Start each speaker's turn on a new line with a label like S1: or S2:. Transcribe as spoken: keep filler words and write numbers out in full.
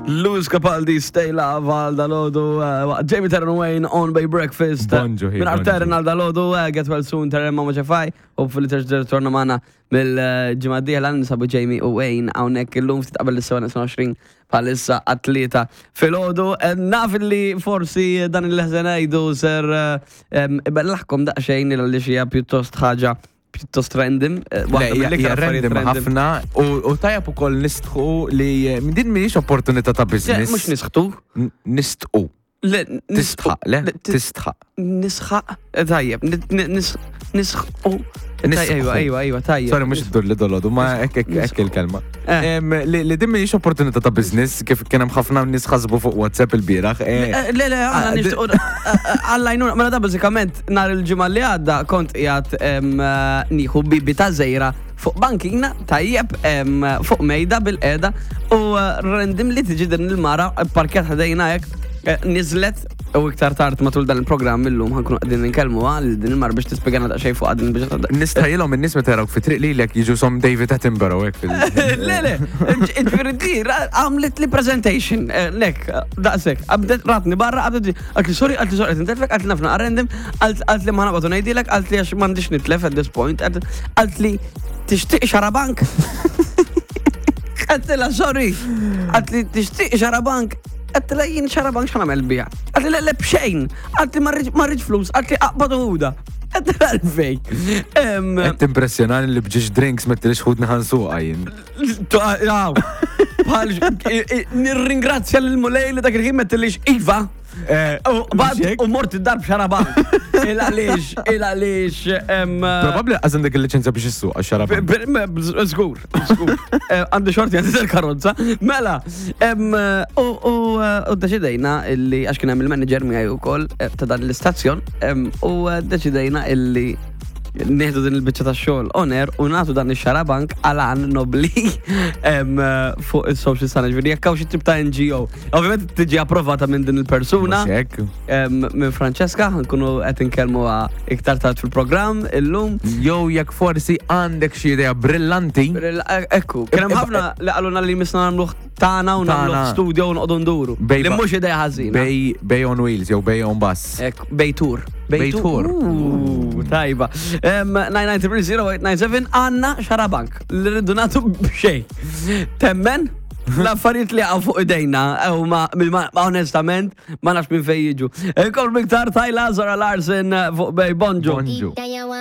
S1: Lewis Capaldi, "Stay Love" għal dalgħodu, uh, Jamie, Terren, Wayne on Bay Breakfast.
S2: Bonġu, hi,
S1: Minn
S2: bonġu.
S1: Terren għal dalgħodu, uh, get well soon, Terren, ma ċefaj, hopefully terġa' torna magħna mill-ġimgħa d-dieħla. Nsabu Jamie u Wayne hawnhekk illum ftit qabel is-sebgħa u għoxrin bħalissa għat-tlieta filgħodu. Eh, Naf li forsi dan il-ħżen ngħidu ser eh, em, ibellaħkom daqsxejn li xija pjuttost ħaġa pjuttost random. eh,
S2: Le,
S1: waħda
S2: hija
S1: mill-iktar
S2: hija
S1: affarijiet
S2: random ħafna u u tajab ukoll nistħu li eh, din mhijiex opportunità ta'
S1: Le,
S2: business.
S1: mhux nisħtu.
S2: N- Nistqu.
S1: Le,
S2: Tistħaq, le?
S1: Le, tis-
S2: Tistħaq.
S1: Nisħaq, eh, tajjeb, ni- ni- nis- nisħu.
S2: Nisħu.
S1: Ejwa, ejwa, ejwa, tajjeb.
S2: Sorry, mhux iddur li dolodu, ma hekk hekk hekk il-kelma.
S1: Eh.
S2: Em, Li li din mhijiex opportunità ta' business, kif kien hemm ħafna nies ħasbu fuq WhatsApp il-bieraħ. eh,
S1: Eh, Le, le, għanna
S2: Ah,
S1: nishtiqu għallajnuna, mela da bażikament nhar il-ġimgħa li għadda kont qiegħed em, eh, nieħu bibi ta' żejra fuq bankina, tajjeb, em, fuq mejda bil-qeda u eh, randomly tiġi din il-mara parkjat ħdejna hekk, eh, niżlet u iktar tard matul dan il-programm illum ħa nkunu qegħdin ninkellmu għal din il-mara biex tispjegana daqsxejn fuq din biex
S2: Nistħajjilhom in-nies meta jarawk fi triq lilek jiġu som David Attenborough hekk fil-
S1: Le, le, ġifieri di, għamlet li presentation, eh, lek, daqsek, għabdet ratni barra, għabdet, għalt li sorry, għalt li sorry, intelfek, għalt li nafna random, għalt li ma nabatu ngħidilek, għalt li għax m'għandix nitlef at this point, għalt li tixtieq xarabank. Għalt la sorry, għalt li tixtieq xarabank, għalt la jien xarabank x'ħa nagħmel biha. Għalt li le le bxejn, għalt li ma rridx flus, għalt li aqbad u ħuda. Għalt li għalfejn. Em,
S2: Qed timpressjonani li b'ġiex drinks ma tilix ħudni ħa nsuqha jien.
S1: Jaw, bħal, nirringrazzja l-Mulej li dak il-ħin mettilix iva. U bad u mort id-dar b'xarabank. Il għaliex, il għaliex.
S2: Probabbli għaż għandek il-liċenzja biex issuq għax-xarabank.
S1: Żgur, żgur. Eh, Għandi xorti għandi il-karozza. Mela, em, u u, u deċidejna illi, għax kien hemm il-manager miegħi wkoll eh, ta' dan l-istazzjon, em, u eh, deċidejna illi nieħdu din il-biċċa ta' xogħol on air u nagħtu dan ix-xarabank għal għan nobli em, eh, fuq is-social tagħna. Ġifieri jekk hawn xi tip ta' N G O. Ovvjament tiġi approvata minn din il-persuna.
S2: Mhux hekk.
S1: em, Minn Francesca, ħa nkunu qed inkellmuha iktar tard fil-programm illum.
S2: Jew jekk forsi għandek xi idea brillanti.
S1: Ekku, kien hemm ħafna li qalulna li misna nagħmluh tagħna u nagħmluh
S2: Tagħna.
S1: studio u noqogħdu nduru.
S2: Bej
S1: Li
S2: ba-
S1: mhux idea ħażina.
S2: Bay, bay on wheels jew bay on bus.
S1: Ekku, Bejtur.
S2: Bejtur.
S1: Uh, Tajba. nine nine three zero eight nine seven, għandna xarabank li rridu nagħtu b'xejn. Temmen? L-affarijiet li għaw fuq idejna, u ma, ma, onestament, ma nafx minn fej jiġu. Kol miktar Tyla, Zara Larson fuq Bay. Bonġu.
S2: Bonġu.